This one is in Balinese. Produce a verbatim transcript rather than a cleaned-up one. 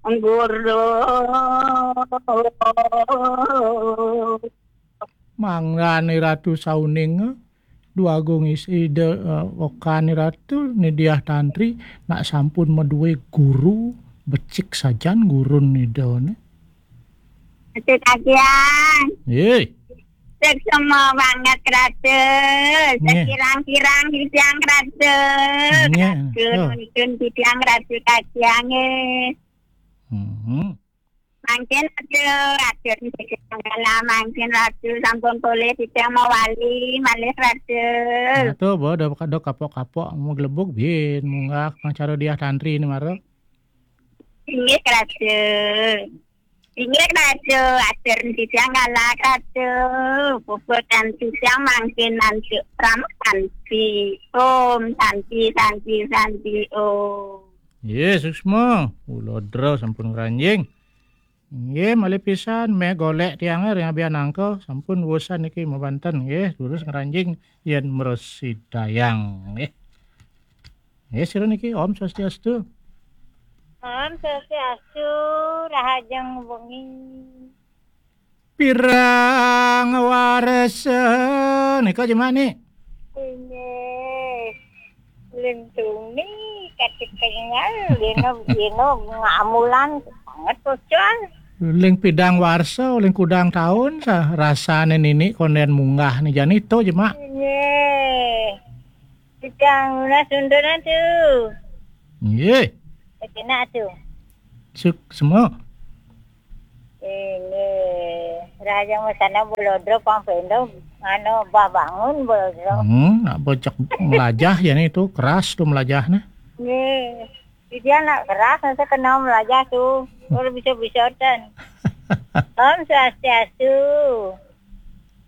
Guru. Mangdane Ratu sauning, eh, Dwagung is-, Ida, eh, okane Ratu, Nidiah Tantri, nak sampun maduwe guru, becik sajan gurun Ida ne. Becik sajan. Nggih. Suksma banget, Ratu. Nggih. Sekirang-kirang titiang, Ratu. Nggih. Ratu Oh. nuntun titiang, Ratu, kasihan, nggih. Mhm. Mangkin Ratu, Ratu niki manggala, mangkin Ratu sampun polih titiang mawali malih, Ratu. Nah, tuh, Bo, do, do kapok-kapok, mau gelebug, bin, munggah, pang cara Diah Tantri ini, mara. Inggih, Ratu. Inggih, Ratu, atur titiang galak, Ratu. Puput titiang mangkin nanti pram santi. Om, santi, santi, santi, om. Nggih, suksma. Kula dra sampun ngranjing. Nggih, malih pisan meh golek tiange ring abian angka, sampun wusan niki mabanten nggih, durus ngranjing yen mrasidayang nggih. Nggih, sira niki, Om Swastiastu. Om Swastiastu, rahajeng wengi. Pirang warsa nika jemak ni? Inggih. Lintuni katik kengal, dina, dina ngamulan banget pocol. Ling pidang warsa, ling kudang taun, sa-, rasane nini konden munggah ni jani to jemak. Inggih. Pidang lunas undunan tu. Nggih. Kena tu. Suk semua. Ini, rahajeng mesana Bolodro pang pendo, anu, bah bangun Bolodro. Hmm, nak bocok melajah ya ni tu, keras tu melajahnya. Nggih. Dia nak keras, nanti kena melajah tu. Kalau bisa-bisa tan. Om Swastiastu.